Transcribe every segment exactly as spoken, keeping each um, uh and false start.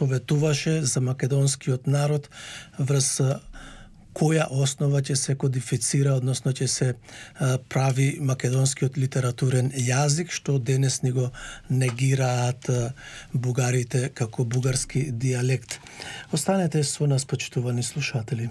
советуваше за македонскиот народ врз која основа ќе се кодифицира, односно ќе се а, прави македонскиот литературен јазик, што денес ни го негираат а, бугарите како бугарски дијалект. Останете со нас, почитувани слушатели.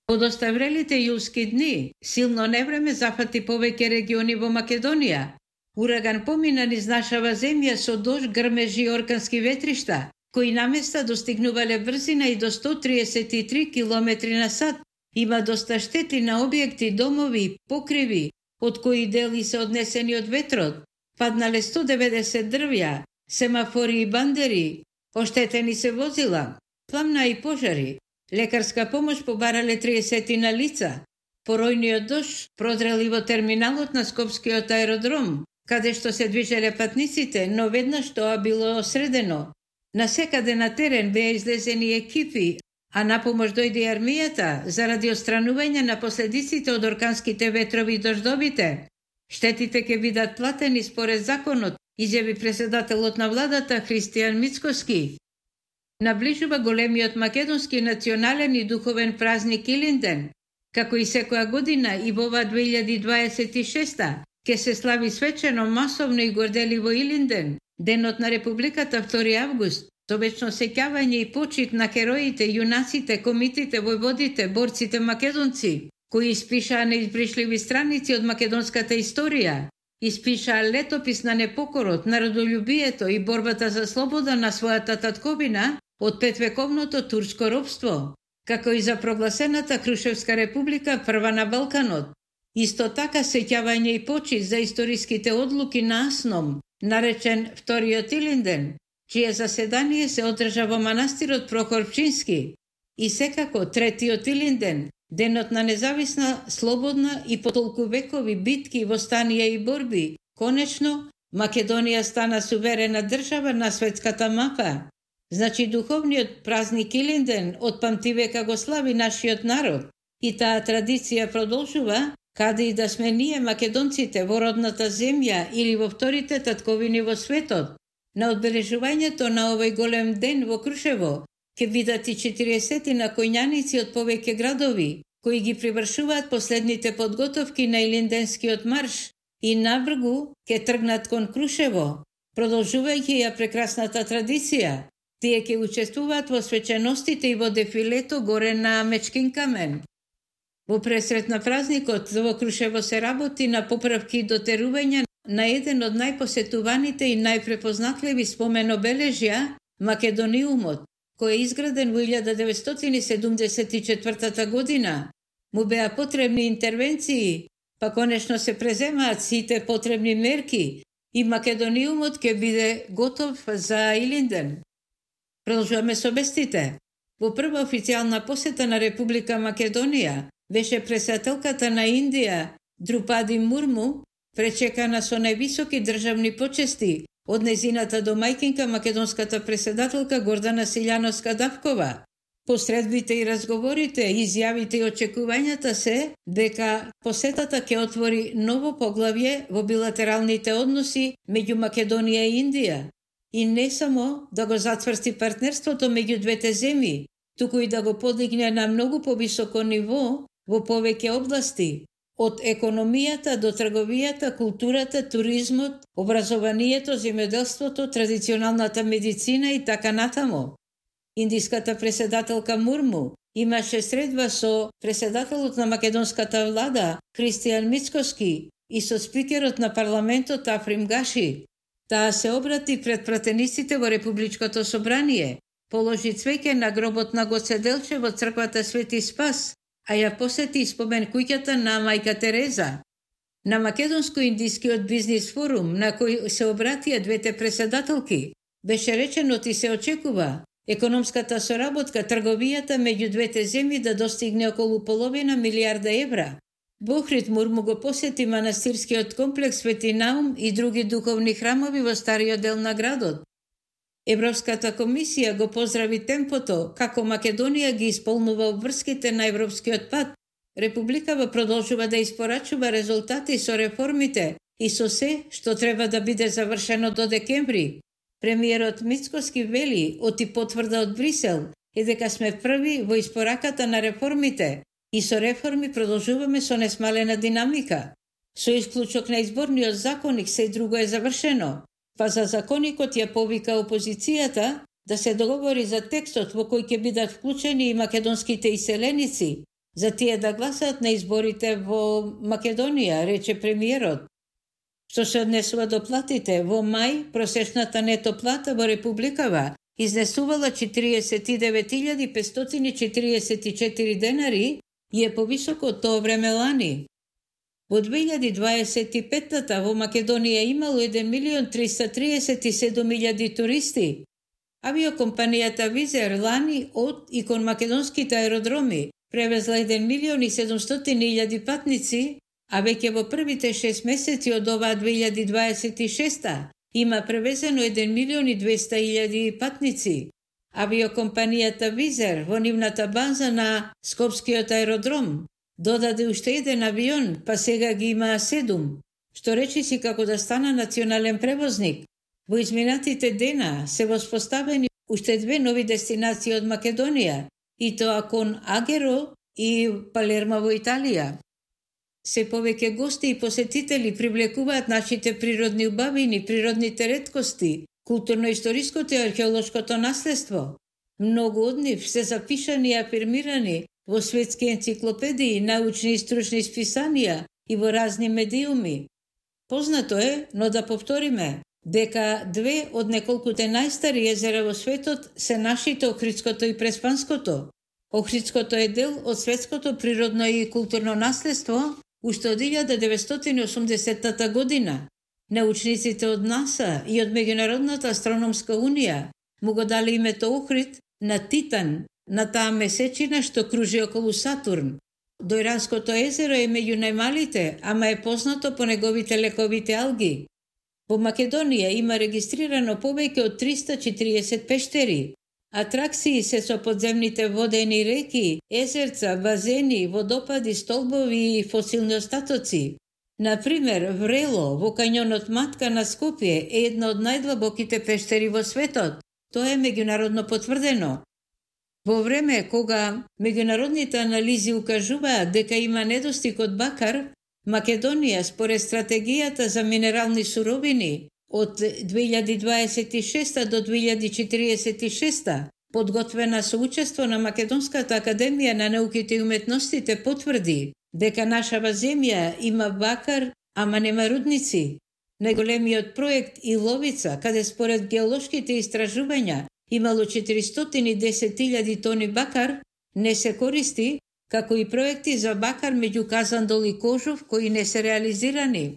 Од оставрелите јулски дни, силно невреме зафати повеќе региони во Македонија. Ураган помина низ нашава земја со дожд, грмежи и оркански ветришта, кои на места достигнувале брзина и до сто триесет и три километри на сат. Има доста штети на објекти, домови, покриви, од кои дели се однесени од ветрот. Паднале сто деветдесет дрвја, семафори и бандери, оштетени се возила, пламна и пожари. Лекарска помош побарале триесет на лица. Поројниот дожд продрели во терминалот на Скопскиот аеродром, каде што се движеле патниците, но веднаш тоа било средено. Насекаде на терен беа излезени екипи, а на помош дојде армијата заради отстранување на последиците од орканските ветрови и дождовите. Штетите ќе бидат платени според законот, изјави председателот на владата Христијан Мицкоски. Наближува големиот македонски национален и духовен празник Илинден. Како и секоја година и во ова две илјади дваесет и шеста ќе се слави свечено, масовно и горделиво Илинден, денот на Републиката втори август, со вечно сеќавање и почит на хероите, јунаците, комитите, војводите, борците македонци, кои испишаа неизбришливи страници од македонската историја, испишаа летопис на непокорот, народолюбието и борбата за слобода на својата татковина од петвековното турско робство, како и за прогласената Крушевска република, прва на Балканот. Исто така сеќавање и почит за историските одлуки на Асном, наречен вториот Илинден, чие заседание се одржа во манастирот Прохор Пчински, и секако третиот Илинден, денот на независна, слободна и по толку векови битки, востанија и борби. Конечно, Македонија стана суверена држава на светската мапа. Значи духовниот празник Илинден од памтивека го слави нашиот народ, и таа традиција продолжува, каде и да сме ние македонците во родната земја или во вторите татковини во светот. На одбележувањето на овој голем ден во Крушево ќе бидат и четириесет на коњаници од повеќе градови, кои ги привршуваат последните подготовки на Илинденскиот марш и навргу ќе тргнат кон Крушево, продолжувајќи ја прекрасната традиција. Тие ќе учествуваат во свеченостите и во дефилето горе на Мечкин камен. Во пресрет на празникот во Крушево се работи на поправки и дотерување на еден од најпосетуваните и најпрепознатливи споменобележја, Македониумот, кој е изграден во илјада деветстотини седумдесет и четвртата година. Му беа потребни интервенции, па конечно се преземаат сите потребни мерки и Македониумот ќе биде готов за Илинден. Продолжуваме со вестите. Во прва официјална посета на Република Македонија беше председателката на Индија, Друпади Мурму, пречекана со највисоки државни почести од незината домајкинка македонската председателка Гордана Силјановска-Давкова. Посредбите и разговорите, изјавите и очекувањата се дека посетата ќе отвори ново поглавје во билатералните односи меѓу Македонија и Индија. И не само да го затврсти партнерството меѓу двете земји, туку и да го подигне на многу повисоко ниво во повеќе области, од економијата до трговијата, културата, туризмот, образованието, земјоделството, традиционалната медицина и така натаму. Индиската председателка Мурму имаше средба со председателот на македонската влада Христијан Мицкоски и со спикерот на парламентот Африм Гаши. Таа се обрати пред пратениците во Републичкото собрание, положи цвеќе на гробот на Гоце Делчев во црквата Свети Спас, а ја посети спомен куќата на мајка Тереза. На Македонско-индискиот бизнис форум, на кој се обратија двете председателки, беше речено и се очекува економската соработка, трговијата меѓу двете земји да достигне околу половина милијарда евра. Бохрид Мурму го посети манастирскиот комплекс Свети Наум и други духовни храмови во стариот дел на градот. Европската комисија го поздрави темпото како Македонија ги исполнува обврските на европскиот пат. Републикава продолжува да испорачува резултати со реформите и со се што треба да биде завршено до декември. Премиерот Мицкоски вели, оти потврда од Брисел, е дека сме први во испораката на реформите и со реформи продолжуваме со несмалена динамика. Со исклучок на изборниот законник се друго е завршено, па за законникот ја повика опозицијата да се договори за текстот во кој ќе бидат вклучени и македонските иселеници, за тие да гласат на изборите во Македонија, рече премиерот. Што се однесува до платите, во мај просечната нето плата во Републикава изнесувала четиридесет и девет илјади петстотини четиридесет и четири денари и е повисоко од тоа време лани. Во две илјади дваесет и петта во Македонија имало еден милион триста триесет и седум илјади туристи. Авиокомпанијата Визер лани од и кон македонските аеродроми превезла еден милион и седумстотини илјади патници, а веќе во првите шест месеци од оваа две илјади дваесет и шеста има превезено еден милион и двеста илјади патници. Авиокомпанијата Визер во нивната база на Скопскиот аеродром додаде уште еден авион, па сега ги има седум, што речиси како да стана национален превозник. Во изминатите дена се воспоставени уште две нови дестинации од Македонија, и тоа кон Агеро и Палермо во Италија. Се повеќе гости и посетители привлекуваат нашите природни убавини, природните реткости, културно-историското и археолошкото наследство. Многу од нив се запишани и афирмирани во светски енциклопедии, научни и стручни списанија и во разни медиуми. Познато е, но да повториме, дека две од неколкуте најстари езера во светот се нашите Охридското и Преспанското. Охридското е дел од светското природно и културно наследство уште од илјада деветстотини и осумдесетта година. Научниците од НАСА и од Меѓународната астрономска унија му го дали името Охрид на Титан, на таа месечина што кружи околу Сатурн. Дојранското езеро е меѓу најмалите, ама е познато по неговите лековите алги. Во Македонија има регистрирано повеќе од триста и четириесет пештери. Атракции се со подземните водени реки, езерца, базени, водопади, столбови и фосилни остатоци. Например, Врело во кањонот Матка на Скопје е една од најдлабоките пештери во светот. Тоа е меѓународно потврдено. Во време кога меѓународните анализи укажуваат дека има недостиг од бакар, Македонија според стратегијата за минерални суровини од две илјади дваесет и шеста до две илјади четиридесет и шеста, подготвена со учество на Македонската академија на науките и уметностите, потврди дека нашава земја има бакар, ама нема рудници. Најголемиот проект Иловица, каде според геолошките истражувања имало четиристотини и десет илјади тони бакар, не се користи, како и проекти за бакар меѓу Казандол и Кожов кои не се реализирани.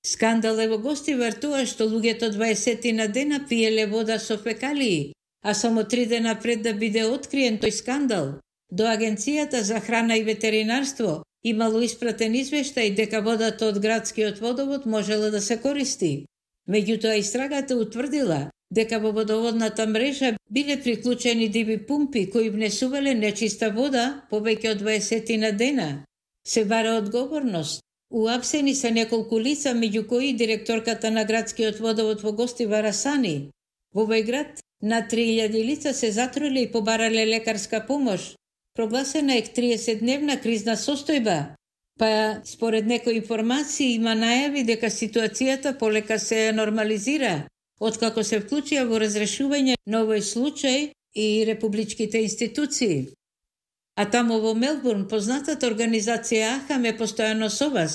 Скандал е во Гостивар тоа што луѓето дваесет на дена пиеле вода со фекалии, а само три дена пред да биде откриен тој скандал, до Агенцијата за храна и ветеринарство имало испратен извештај дека водата од градскиот водовод можела да се користи. Меѓутоа истрагата утврдила дека во водоводната мрежа биле приклучени диви пумпи кои внесувале нечиста вода повеќе од дваесет на дена. Се бара одговорност. Уапсени се неколку лица, меѓу кои директорката на градскиот водовод во Гостивар Асани. Во овој град на три илјади лица се затруиле и побарале лекарска помош. Прогласена е триесетдневна кризна состојба, па според некои информации има најави дека ситуацијата полека се нормализира, откако се вклучија во разрешување на овој случај и републичките институции. А тамо во Мелбурн познатата организација АХАМ е постојано со вас.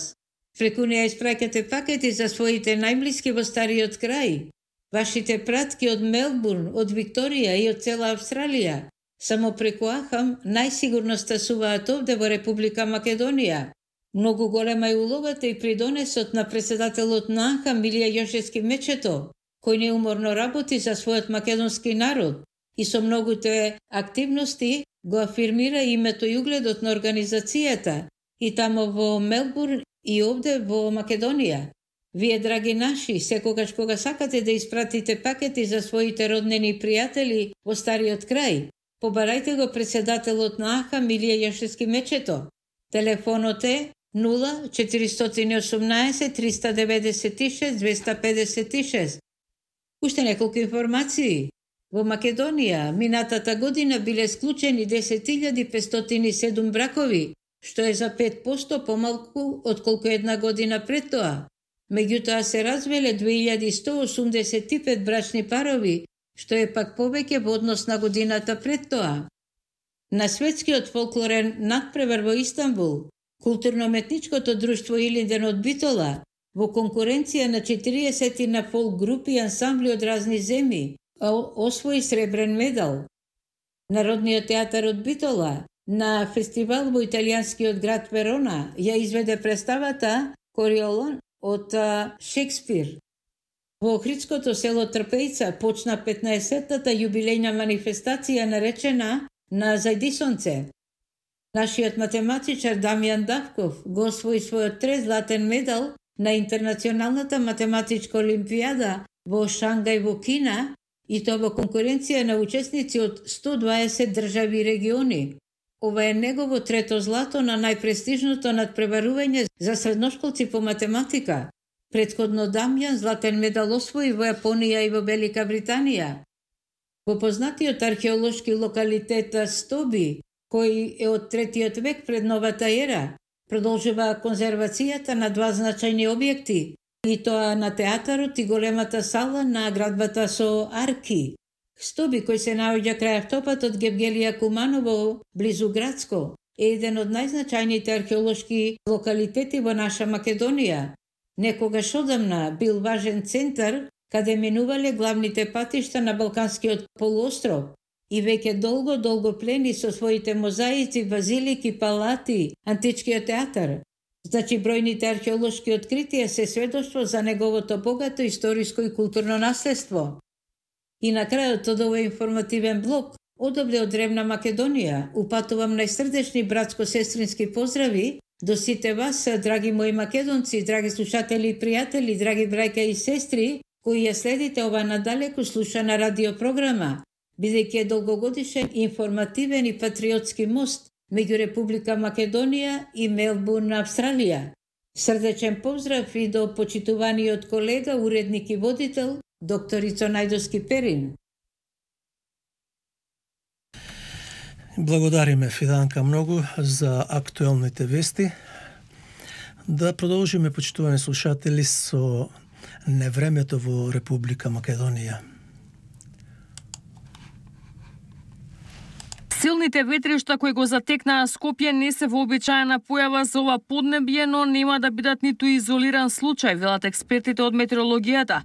Преку неја испраќате пакети за своите најблиски во стариот крај. Вашите пратки од Мелбурн, од Викторија и од цела Австралија само преку АХАМ најсигурно стасуваат овде во Република Македонија. Многу голема е улогата и придонесот на председателот на АХАМ Милија Јошевски Мечето, кој неуморно работи за својот македонски народ и со многуте активности го афирмира името и угледот на организацијата и тамо во Мелбурн и овде во Македонија. Вие, драги наши, секогаш кога сакате да испратите пакети за своите роднини и пријатели во стариот крај, побарајте го председателот на АХАМ Милија Јошевски Мечето. Телефонот е нула четиристотини и осумнаесет триста деветдесет и шест двеста педесет и шест. Уште неколку информации. Во Македонија минатата година биле склучени десет илјади петстотини и седум бракови, што е за пет посто помалку отколку една година пред тоа. Меѓутоа се развеле две илјади сто осумдесет и пет брачни парови, што е пак повеќе во однос на годината пред тоа. На светскиот фолклорен надпревар во Истанбул, културно-метничкото друштво Илинден од Битола, во конкуренција на четириесет на фолк групи и ансамбли од разни земји, освои сребрен медал. Народниот театар од Битола на фестивал во италијанскиот град Верона ја изведе представата Кориолон од Шекспир. Во охридското село Трпејца почна петнаесеттата јубилејна манифестација наречена на Зајдисонце. Нашиот математичар Дамјан Давков го освои својот трет златен медал на Интернационалната математичка олимпијада во Шангај во Кина, и тоа во конкуренција на учесници од сто дваесет држави и региони. Ова е негово трето злато на најпрестижното надпреварување за средношколци по математика. Претходно Дамјан златен медал освои во Јапонија и во Велика Британија. Во познатиот археолошки локалитет Стоби, кој е од третиот век пред новата ера, продолжува конзервацијата на два значајни објекти, и тоа на театарот и големата сала на градбата со арки. Стоби, кој се наоѓа крај автопатот Гевгелија Куманово, близу Градско, е еден од најзначајните археолошки локалитети во наша Македонија. Некогаш одамна бил важен центар каде минувале главните патишта на Балканскиот полуостров и веќе долго-долго плени со своите мозаици, базилики, палати, античкиот театар. Значи, бројните археолошки откритија се сведоштво за неговото богато историско и културно наследство. И на крајот од овој информативен блок, одобре од древна Македонија, упатувам најсрдечни братско-сестрински поздрави до сите вас, драги мои македонци, драги слушатели и пријатели, драги браќа и сестри, кои ја следите ова надалеку слушана радиопрограма, бидејќи е долгогодишен информативен и патриотски мост меѓу Република Македонија и Мелбурн, Австралија. Срдечен поздрав и до почитуваниот колега, уредник и водител, доктор Ицо Најдовски Перин. Благодариме, Фиданка, многу за актуелните вести. Да продолжиме, почитувани слушатели, со невремето во Република Македонија. Силните ветришта кои го затекнаа Скопје не се вообичаена појава за ова поднебје, но нема да бидат ниту изолиран случај, велат експертите од метеорологијата.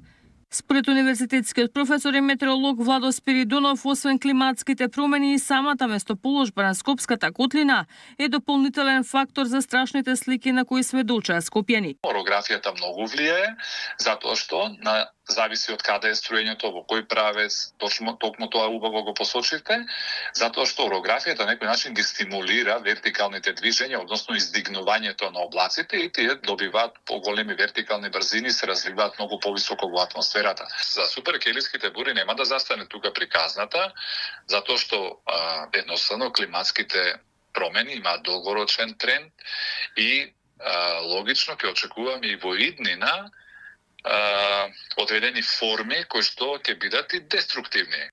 Според универзитетскиот професор и метеоролог Владо Спиридонов, освен климатските промени и самата местоположба на Скопската котлина е дополнителен фактор за страшните слики на кои сведочаа скопјани. Орографијата многу влијае, затоа што на зависи од каде е струењето, во кој правец, точно токму тоа убаво го посочивте, затоа што орографијата на некој начин ги стимулира вертикалните движења, односно издигнувањето на облаците, и тие добиваат поголеми вертикални брзини, се развиваат многу повисоко во атмосферата. За суперкелиските бури нема да застане тука приказната, затоа што а, едноставно климатските промени имаат долгорочен тренд и а, логично ќе очекуваме и во иднина Uh, одредени форми кои што ќе бидат и деструктивни.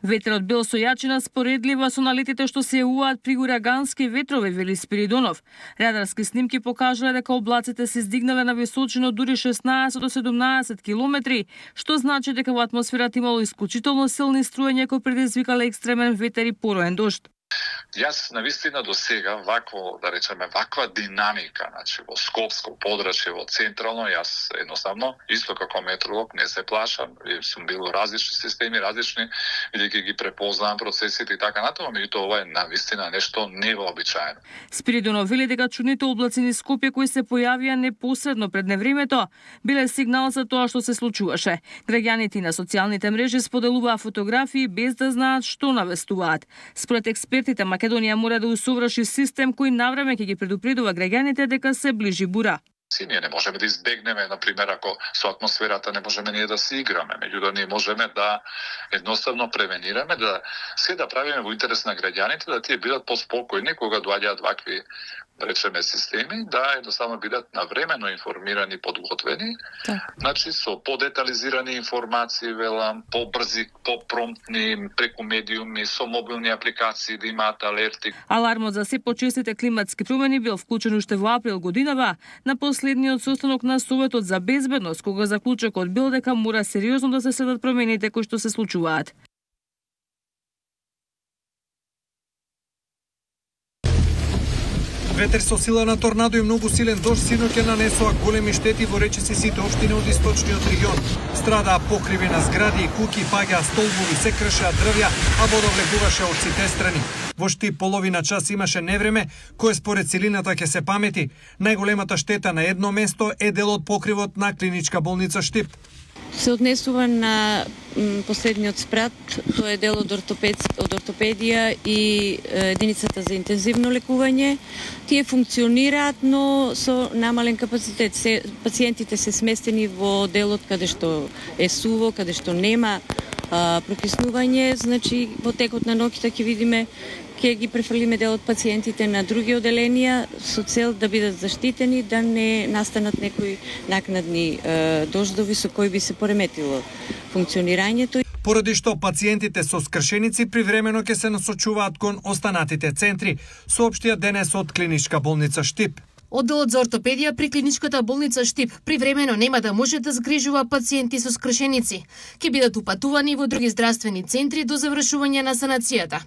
Ветерот бил со јачина споредлива со налетите што се јавуваат при урагански ветрови, вели Спиридонов. Радарски снимки покажале дека облаците се издигнале на височина дури шеснаесет до седумнаесет километри, што значи дека во атмосферата имало исклучително силни струења кои предизвикале екстремен ветер и пороен дожд. Јас навистина до сега вакво, да речеме, ваква динамика, значи во Скопско подрачје, во централно, јас едноставно, исто како метеоролог, не се плашам, сум бил во различни системи, различни, бидејќи ги препознавам процесите и така натаму, меѓутоа ова е навистина нешто невообичаено. Спиридонов вели дека чудните облаци низ Скопје кои се појавија непосредно пред невремето биле сигнал за тоа што се случуваше. Граѓаните на социјалните мрежи споделуваа фотографии без да знаат што навестуваат. Според експертите, Македонија мора да усоврши систем кој навреме ќе ги предупредува граѓаните дека се ближи бура. Ние не можеме да избегнеме, например, ако со атмосферата не можеме ние да се играме, меѓутоа ние можеме да едноставно превенираме, да се да правиме во интерес на граѓаните, да тие бидат поспокојни кога доаѓаат вакви речеме системи, да едноставно бидат навремено информирани, подготвени, так. Значи со подетализирани информации, велам, побрзи, попромптни, преку медиуми, со мобилни апликации да имаат алерти. Алармот за се почестите климатски промени бил вклучен уште во април годинава на последниот состанок на Советот за безбедност, кога заклучокот бил дека мора сериозно да се следат промените кои што се случуваат. Ветер со сила на торнадо и многу силен дожд синоќа нанесоа големи штети во речиси сите општини од источниот регион. Страдаа покриви на згради и куќи, паѓаа столбови, се кршеа дрвја, а вода влегуваше од сите страни. Во шти половина час имаше невреме, кое според силината ќе се памети. Најголемата штета на едно место е дел од покривот на клиничка болница Штип. Се однесува на последниот спрат, тоа е дел од, ортопед, од ортопедија и единицата за интензивно лекување. Тие функционираат, но со намален капацитет. Се, пациентите се сместени во делот каде што е суво, каде што нема а, прокиснување, значи во текот на ноќта ќе видиме ќе ги префрлиме дел од пациентите на други оделенија со цел да бидат заштитени, да не настанат некои накнадни е, дождови со кои би се пореметило функционирањето. Поради што пациентите со скршеници привремено ќе се насочуваат кон останатите центри, соопштија денес од клиничка болница Штип. Одделот за ортопедија при клиничката болница Штип привремено нема да може да згрижува пациенти со скршеници. Ќе бидат упатувани во други здравствени центри до завршување на санацијата.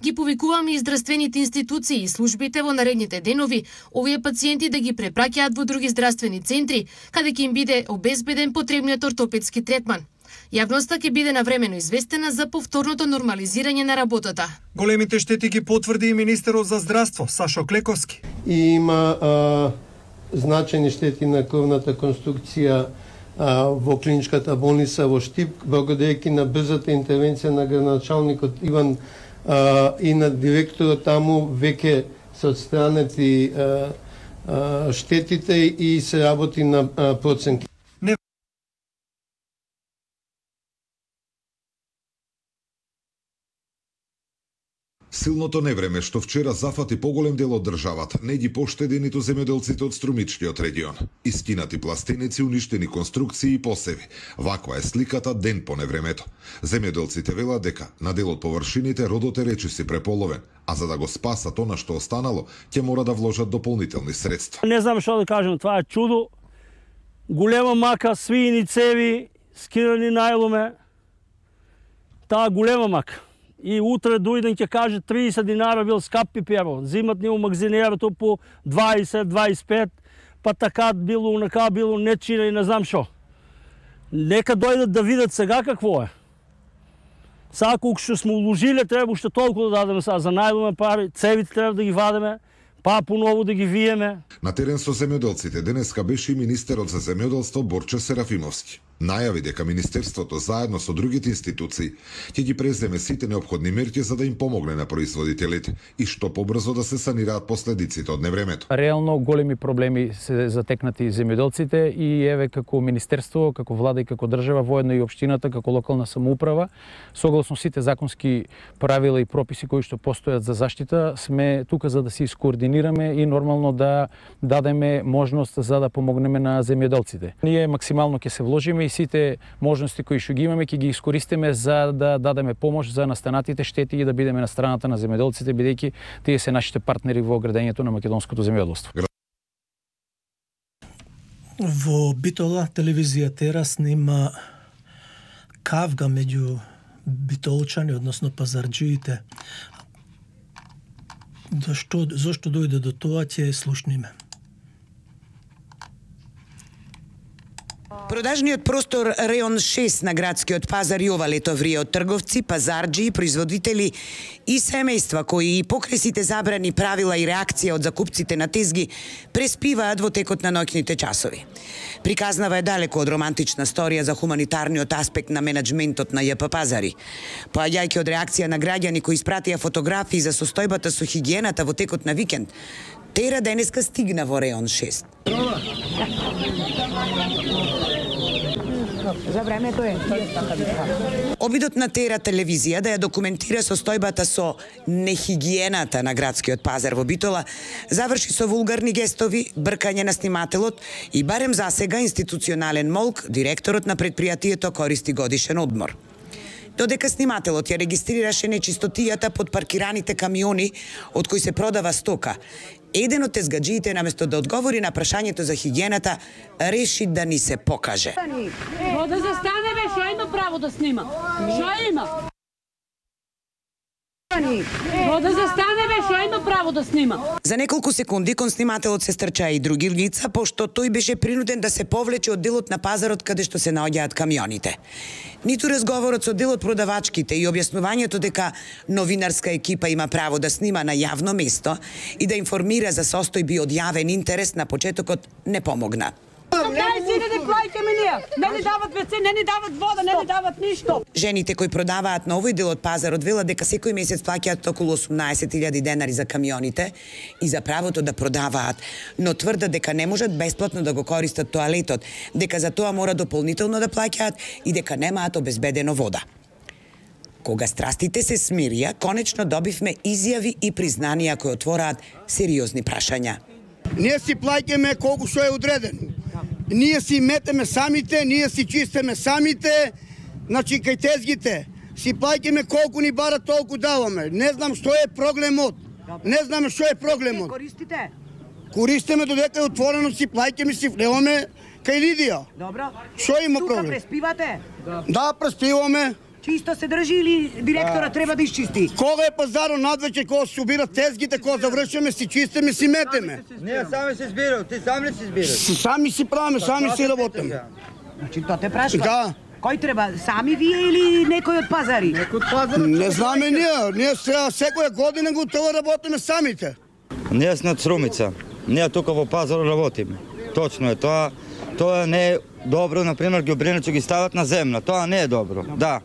Ги повикуваме и здравствените институции и службите во наредните денови овие пациенти да ги препраќаат во други здравствени центри, каде ќе им биде обезбеден потребниот ортопедски третман. Јавноста ќе биде навремено известена за повторното нормализирање на работата. Големите штети ги потврди и министерот за здравство Сашо Клековски. И има а, значајни штети на крвната конструкција а, во клиничката болница во Штип, благодарејќи на брзата интервенција на градоначалникот Иван а, и на директорот таму веќе се отстранети а, а, штетите и се работи на а, проценки. Силното невреме што вчера зафати поголем дел од државата не ги поштеди ниту земјоделците од струмичкиот регион. Искинати пластеници, уништени конструкции и посеви. Ваква е сликата ден по невремето. Земјоделците велат дека на дел од површините родот е речиси преполовен, а за да го спасат она што останало, ќе мора да вложат дополнителни средства. Не знам што да кажам, това е чудо. Голема мака, свиини цеви, скирани најломе. Таа голема мака. И утре дојден ќе каже триесет динара бил скап пиперо. Зимат ни у магазинерото по дваесет дваесет и пет, па така било, унака било, нечина и не знам шо. Нека дојдат да видат сега какво е. Сега колку што сме уложиле, треба уште толку да дадеме сега за најломе пари, цевите треба да ги вадеме, па поново да ги виеме. На терен со земјоделците денеска беше и министерот за земјоделство Борче Серафимовски. Најави дека Министерството заедно со другите институции ќе ги преземе сите неопходни мерки за да им помогне на производителите и што побрзо да се санираат последиците од невремето. Реално големи проблеми се затекнати земјоделците и еве како Министерство, како влада и како држава, воедно и општината, како локална самоуправа, согласно сите законски правила и прописи кои што постојат за заштита, сме тука за да се искоординираме и нормално да дадеме можност за да помогнеме на земјоделците. Ние максимално ќе се вложиме и сите можности кои што ги имаме ќе ги искористиме за да дадеме помош за настанатите штети и да бидеме на страната на земјоделците, бидејќи тие се нашите партнери во градењето на македонското земјоделство. Во Битола телевизија Тера снима кавга меѓу битолчани, односно пазарџиите. Зашто, зашто дојде до тоа, ќе слушниме. Продажниот простор Реон шест на градскиот пазар и ова лето врие од трговци, пазарџи, производители и семејства кои и покрај сите забрани правила и реакција од закупците на тезги преспиваат во текот на ноќните часови. Приказнава е далеко од романтична сторија за хуманитарниот аспект на менаџментот на Ј П пазари. Поаѓајќи од реакција на граѓани кои испратија фотографии за состојбата со хигиената во текот на викенд, Тера денеска стигна во Реон шест. За времето е. Обидот на Тера телевизија да ја документира состојбата со нехигиената на градскиот пазар во Битола заврши со вулгарни гестови, бркање на снимателот и барем засега институционален молк, директорот на предпријатието користи годишен одмор. Додека снимателот ја регистрираше нечистотијата под паркираните камиони од кои се продава стока, еден од тезгаджиите наместо да одговори на прашањето за хигиената, реши да ни се покаже. Во да застане бе, шо има право да снима? Шо има? Во да застане бе, шо има право да снима? За неколку секунди кон снимателот се стрчаа и други лица, пошто тој беше принуден да се повлече од делот на пазарот каде што се наоѓаат камионите. Ниту разговорот со дел од продавачките и објаснувањето дека новинарска екипа има право да снима на јавно место и да информира за состојби од јавен интерес на почетокот не помогна. Кај си не плаќаме ние? Не ни дават ве це, не ни дават вода, не ни дават ништо. Жените кои продаваат на овој дел од пазарот велат дека секој месец плаќаат околу осумнаесет илјади денари за камионите и за правото да продаваат, но тврдат дека не можат бесплатно да го користат тоалетот, дека за тоа мора дополнително да плаќаат и дека немаат обезбедено вода. Кога страстите се смирија, конечно добивме изјави и признанија кои отвораат сериозни прашања. Ние си плаќаме колку што е одредено. Ние си метеме самите, ние си чистеме самите, значи кај тезгите. Си плаќаме колку ни бара, толку даваме. Не знам што е проблемот. Не знам што е проблемот. Користите? Користиме додека е отворено, си плаќаме, си влеваме кај Лидија. Добро. Што има проблем? Тука преспивате? Да, преспиваме. Чисто се држи или директора да. Треба да изчисти? Кога е пазаро надвече, кога се убират тезгите, кога завршиме, си чистиме, си метеме. Ние сами се избираме, ти сам ли си избираш? Сами си правиме, сами си работиме. Значи, то те прашва? Да. Кој треба? Сами вие или некој од пазари? Некој од пазари? Не знаме ние. Ние секоја година го тоа работиме самите. Ние сме од Срумица. Ние тука во пазар работиме. Точно е тоа. Тоа не е добро, например, ѓубрените ги стават на земја. Тоа не е добро. Да.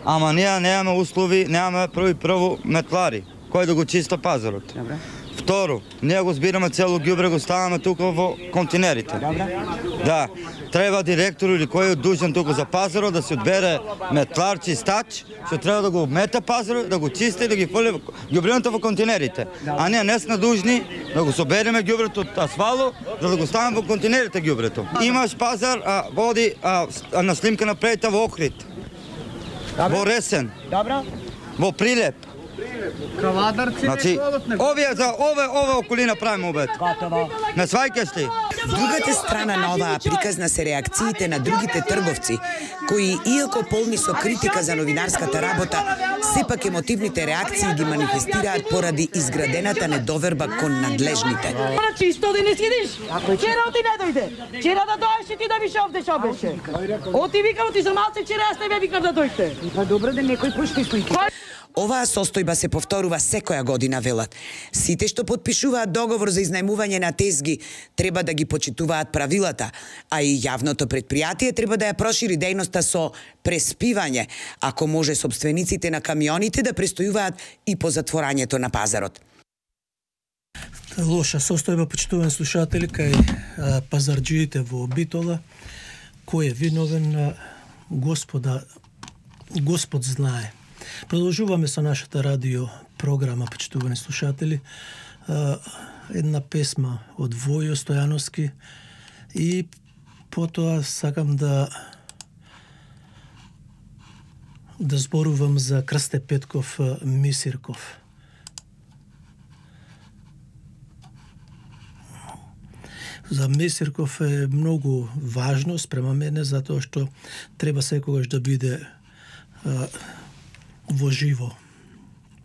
Ама ние немаме услови, немаме прво и прво метлари, кој да го чиста пазарот. Добре. Второ, ние го збираме цело ѓубре, го ставаме тука во континерите. Добре. Да, треба директор или кој е дужен тука за пазарот да се одбере метлар, чистач, што треба да го мета пазарот, да го чисти и да ги фрли ѓубреното во континерите. А ние не сме дужни да го собереме ѓубрето од асфало, за да го ставаме во континерите ѓубрето. Имаш пазар, а, води а, на снимка напредите во Охрид. Во Ресен. Добро. Во Прилеп. Кавадарци. Значи, овие за ове ове околина правиме обед. Готово. Не сваќаш ли? Другата страна на оваа приказна се реакциите на другите трговци, кои, иако полни со критика за новинарската работа, сепак емотивните реакции ги манифестираат поради изградената недоверба кон надлежните. Чисто да не сидиш? Вчера ти не дојде. Вчера да дојдеш и ти да више овде шо беше. Оти викам ти за малце, вчера јас не бе викам да дојдете. Па добро да некој пушти слики. Оваа состојба се повторува секоја година, велат. Сите што подпишуваат договор за изнајмување на тезги треба да ги почитуваат правилата, а и јавното предпријатие треба да ја прошири дејноста со преспивање, ако може собствениците на камионите да престојуваат и по затворањето на пазарот. Лоша состојба, почитувани слушатели, кај а, пазарџиите во Битола, кој е виновен, господа, Господ знае. Продолжуваме со нашата радио програма, почитувани слушатели. Една песма од Војо Стојановски и потоа сакам да да зборувам за Крсте Петков Мисирков. За Мисирков е многу важно спрема мене, затоа што треба секогаш да биде во живо.